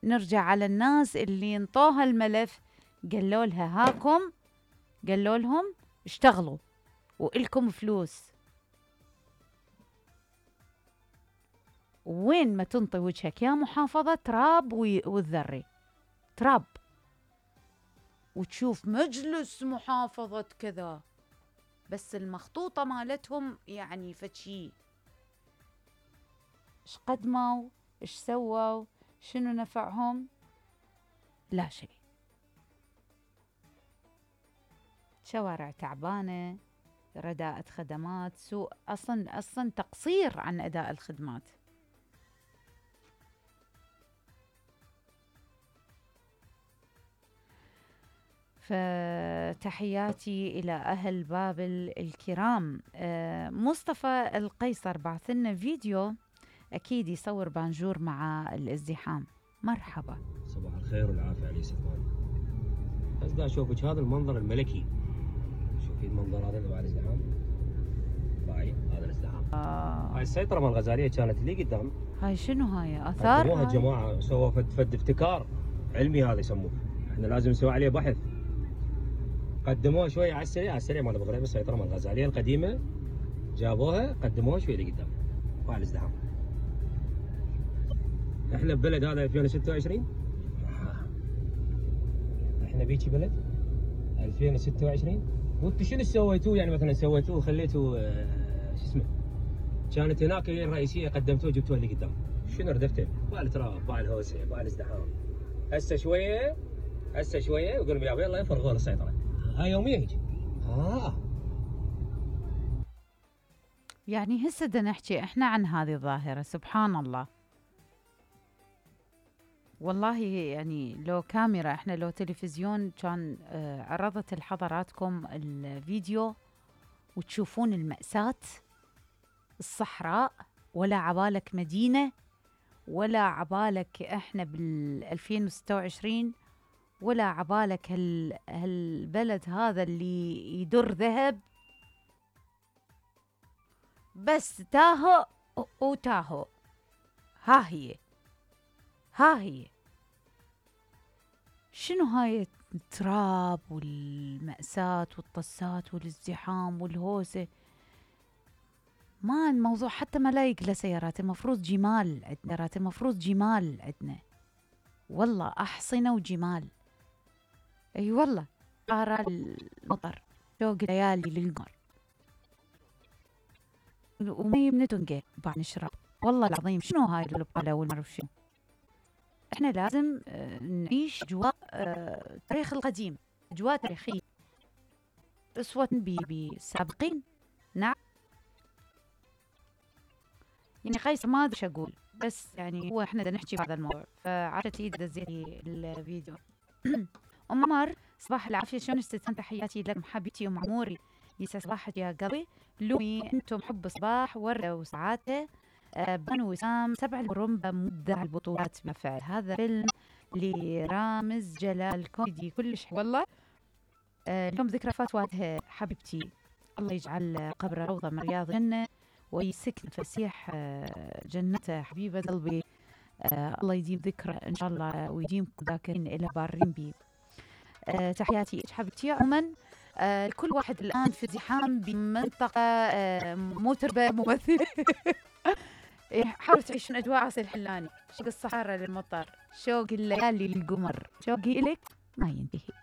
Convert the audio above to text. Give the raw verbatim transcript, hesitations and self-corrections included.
نرجع على الناس اللي انطوها الملف، قالوا لها هاكم، قالوا لهم اشتغلوا وإلكم فلوس. وين ما تنطي وجهك يا محافظة تراب والذري تراب، وتشوف مجلس محافظة كذا، بس المخطوطة مالتهم يعني فتشي. ايش قدموا؟ ايش سووا؟ شنو نفعهم؟ لا شيء. شوارع تعبانة، رداءة خدمات، سوء أصلا أصلا تقصير عن أداء الخدمات. فتحياتي إلى أهل بابل الكرام. مصطفى القيصر بعث لنا فيديو أكيد يصور بانجور مع الازدحام. مرحبا. صباح الخير والعافية علي سلمان. بس دا أشوفك هذا المنظر الملكي. شوفي المنظر هذا اللي مع الازدحام. باي هذا الازدحام. آه. هاي السيطرة مال الغزالية كانت اللي قدام. هاي شنو هاي؟ آثار؟ قدموها الجماعة، سووا فد فد ابتكار علمي هذا يسموه. احنا لازم نسوي عليه بحث. قدموها شوية على السريع على السريع مال بغريب، السيطرة مال الغزالية القديمة جابوها قدموها شوية لقدام. وعلى الازدحام. احنا ببلد هذا ألفين وستة وعشرين. احنا بيجي بلد ألفين وستة وعشرين. وانتم شنو سويتوه؟ يعني مثلا سويتوه خليتوه اه شو اسمه؟ كانت هناك هي الرئيسية قدمتوه جبتوها اللي قدام. شنو ردفتين؟ باع التراب، باع الهوسة، باع الازدحام. هسه شوية هسه شوية يقول لهم يلا يفرغون السيطرة. هاي يوميا هيك. ها يعني هسه بدنا نحكي احنا عن هذه الظاهرة. سبحان الله. والله يعني لو كاميرا احنا لو تلفزيون كان آه عرضت لحضراتكم الفيديو وتشوفون المأساة. الصحراء ولا عبالك مدينة ولا عبالك احنا بال ألفين وستة وعشرين ولا عبالك هال هالبلد هذا اللي يدر ذهب، بس تاهو وتاهو. ها هي ها هي شنو هاي التراب والمأساة والطسات والازدحام والهوسة. ما الموضوع حتى ما لايق لسيارات. المفروض جمال عندنا، المفروض جمال عندنا والله، أحصنة وجمال. اي أيوة والله. قارة المطر، شوق ليالي للقمر، ومي بنتنقى بعد نشرب. والله العظيم شنو هاي البقالة والمعرف شنو. احنا لازم نعيش اجواء التاريخ القديم، اجواء تاريخية اسوة بالسابقين. نعم. يعني قيصر ما ادري ايش اقول، بس يعني هو احنا بدنا نحكي بهذا الموضوع، فعرفت ايد دزيتي الفيديو. ام عمر صباح العافيه، شلون استاذ؟ تحياتي لكم حبيبتي ام عموري، يسعد صباحك يا قلبي. لومي انتم حب صباح ورده وسعاده. آه بنو وسام سبع البرمبة مبدع البطولات بالفعل. هذا فيلم لرامز جلال كوميدي كلش والله. آه اليوم ذكرى وفاة والدها حبيبتي، الله يجعل قبره روضة من رياض الجنة ويسكن فسيح آه جنته حبيبة قلبي. آه الله يديم ذكرى ان شاء الله ويديمكم ذاكرين الى بارين بي. آه تحياتي حبيبتي. عموما آه كل واحد الان في ازدحام بمنطقة آه متربة ممثلة. حاولوا تعيشون اجواء عسل الحلاني، شوق الصحراء للمطر، شوق الليالي للقمر، شوقي الك ما ينتهي.